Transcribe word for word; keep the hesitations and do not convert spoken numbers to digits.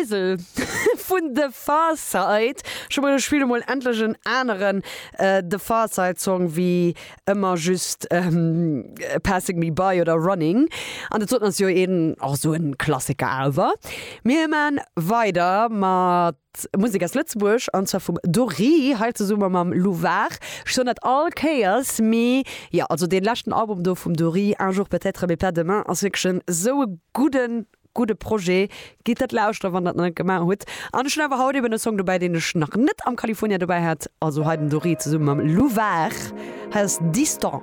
Shizzle vun The Pharcyde. Scho mol spille mol endlech en aneren äh, The Pharcyde Song wéi ëmmer just ähm, Passing Me By oder Running. An dat ass jo eben och sou en Klassiker awer. Mir maache weider mat Musek aus Lëtzebuerg an zwar vum Dory hei zesumme mam Louvar schonn net all Chaos mee ja also dee leschten Album do vum Dory un jour peut-être mais pas demain ass wierklech sou e gudden gudde Projet gitt dat lauschteren wann der dat net gemaach hutt an ech hunn awer haut eben e Song dobäi deen ech nach net am California dobäi hat also hei den Dory zesumme mam Louvar hei ass Distant.